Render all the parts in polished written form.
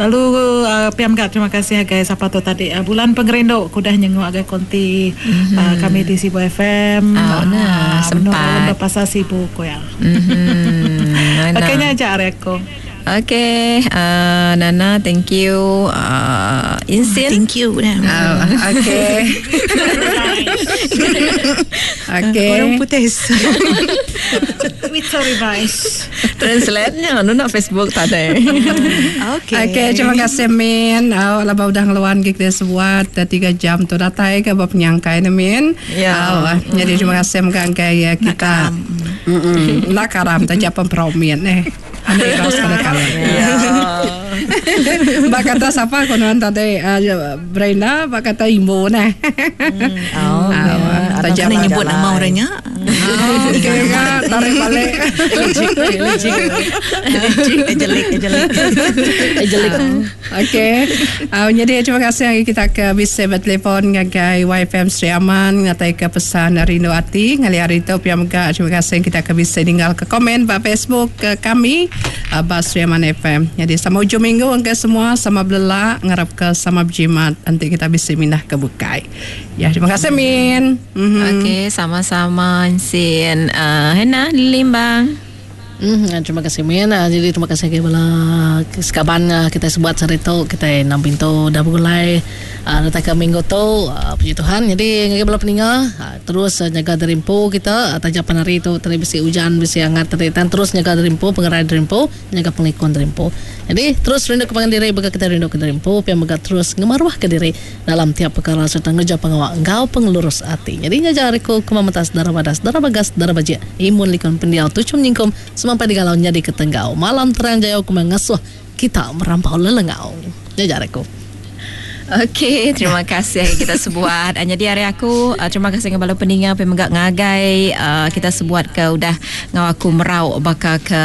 Lalu uh, pia mega terima kasih agai sapa tu tadi uh, bulan pengerindu ku udah nyenguk agai konti mm-hmm. uh, kami di Sibu FM. Oh, nah, uh, sempat. Pasal Sibu ku ya. Mm-hmm. Okey nya aja ari aku. Okay, uh, Nana, thank you. Uh, Insin. Thank you. Uh, okay. okay. Orang putih. Twitter revise. Translate-nya, nu nak Facebook tadi. Okay. Okay, terima kasih Min. Oh, laba udah ngeluan ke kita sebuat 3 jam tu datai ke ba penyangkai ne Min. Ya. Oh, jadi terima kasih mega engkai ya kita. Mm-mm. Nak karam taja pempromin eh. Anu irau sekali-kali. Ya. Ba kata sapa ko nuan tadi uh, Brenda ba kata Imbu neh. Oh, Ah, ya. tajam Kena nyebut nama orangnya. Oh, okay, kan? Tarik balik. Ejelik, ejelik. Ejelik. Okey. Jadi terima kasih hari kita ke bisa bertelefon ngagai YFM Sri Aman ngatai ke pesan rindu ati ngali hari tu pia mega terima kasih kita ke bisa ninggal ke komen ba Facebook ke kami uh, ba Sri Aman FM. Jadi sama ujung minggu engke semua sama belelak ngarap ke sama berjimat nanti kita bisa mindah ke bukai. Ya terima kasih Min. Mm-hmm. Okey, sama-sama Insin. Hena, Limbang. Terima kasih Min. Jadi terima kasih agi bala sekaban kita sebuat sehari tu kita enam pintu dah begulai datai ke minggu tu puji Tuhan. Jadi ngagai bala peninga terus nyaga diri empu kita taja pan hari tu tadi bisi ujan bisi angat tadi tan terus nyaga diri empu pengerai diri empu nyaga pengelikun diri empu. Jadi terus rindu ke pangan diri baka kita rindu ke diri empu pia mega terus ngemaruh ke diri dalam tiap pekara sereta ngereja pengawa enggau pengelurus ati. Nyadi nya aja ari ku ke memetas dara badas dara bagas dara bajik imun likun pendiau tuchum nyingkum semampai digalau nyadi ke tenggau malam terang jayau ku meh ngasuh kita merampau lelengau. Nya aja ari ku. Okey, terima kasih kita sebuat. Nyadi ari aku, terima kasih ngagai bala peninga pe mega ngagai kita sebuat ke udah enggau aku merau baka ke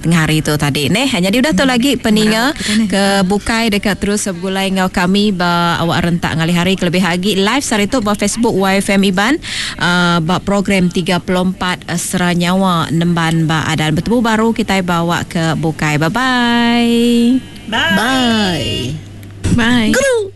tengah hari tu tadi neh. Nyadi udah tu lagi peninga ke bukai deka terus begulai enggau kami ba awak rentak ngalih hari kelebih agi live sehari tu ba Facebook YFM Iban ba program 34 Sera Nyawa Nemban ba Adan. Betemu baru kitai ba awak ke bukai. Bye bye. Bye. Bye. Guru.